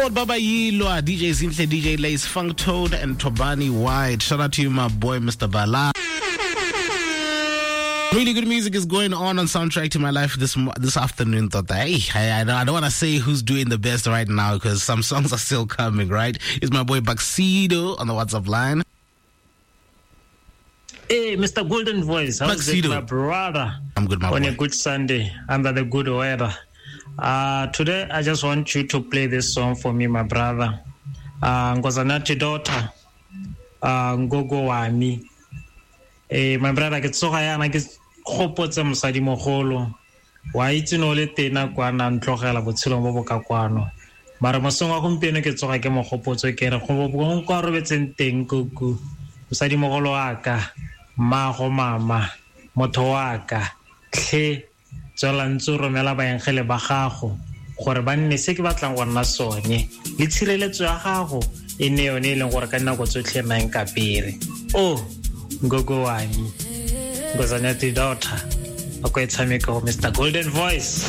God Baba Yilwa, DJ Zinhle, DJ Lace, Funk Toad, and Tobani White. Shout out to you, my boy, Mr. Bala. Really good music is going on Soundtrack to My Life this afternoon. Thought that, hey, I don't want to say who's doing the best right now because some songs are still coming, right? It's my boy Baxido on the WhatsApp line. Hey, Mr. Golden Voice, how's it, my brother? I'm good, my On boy. A good Sunday, under the good weather. Today, I just want you to play this song for me, my brother. Nkosanathi daughter, Ngogo wami. Hey, my brother, ke tsoga yana ke gopotse mosadimogolo. Wa itse no le tena kwana ntlogela botshelong bo bo ka kwano. Mara mosong wa gompieno ke tsoga ke mo gopotse ke re go bo kwa robetseng teng kuku. Mosadimogolo wa ka, mmago mama, motho wa ka, tlhe tswela ntse o romela baengele ba gago gore ba nne se ke batlang go nna sone, le tshireletso ya gago e nne yone e leng gore ka dinako tsotlhe nna nka pere. Oh, Ngogo wami, Nkosanathi daughter, a ko e tshameka go Mr. Golden Voice.